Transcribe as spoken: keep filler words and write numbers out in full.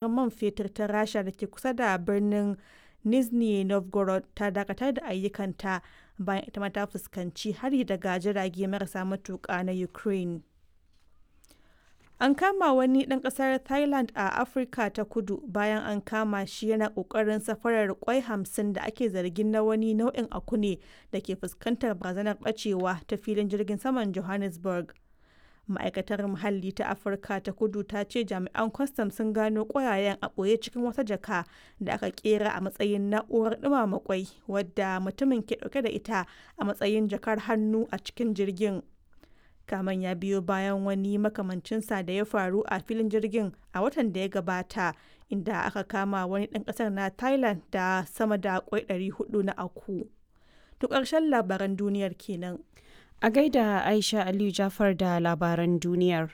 Man fetur ta Rasha da ke kusa da birnin Nizhny Novgorod ta dakatar da ayyukanta bayan ita ma ta fuskanci hari daga jirage marasa matuka na Ukraine. An kama wani ɗan ƙasar Thailand a Afirka ta Kudu bayan an kama shi yana ƙoƙarin safarar ƙwai hamsin da ake zargin na wani nau'in aku ne da ke fuskantar barazanar ɓacewa ta filin jirgin saman Johannesburg. Ma'aikatar Muhalli ta Afirka ta Kudu ta ce jami'an kwastam sun gano ƙwayayen a ɓoye cikin wata jaka da aka ƙera a matsayin na'urar ɗumama ƙwai wadda mutumin ke ɗauke da ita a matsayin jakar hannu a cikin jirgin. Kamen ya biyo bayan wani makamancinsa da ya faru a filin jirgin a watan da ya gabata, inda aka kama wani ɗan ƙasar na Thailand da sama da ƙwai ɗari huɗu na aku. To ƙarshen labaran duniyar kenan. A gaida Aisha Aliyu Jafar da labaran duniyar.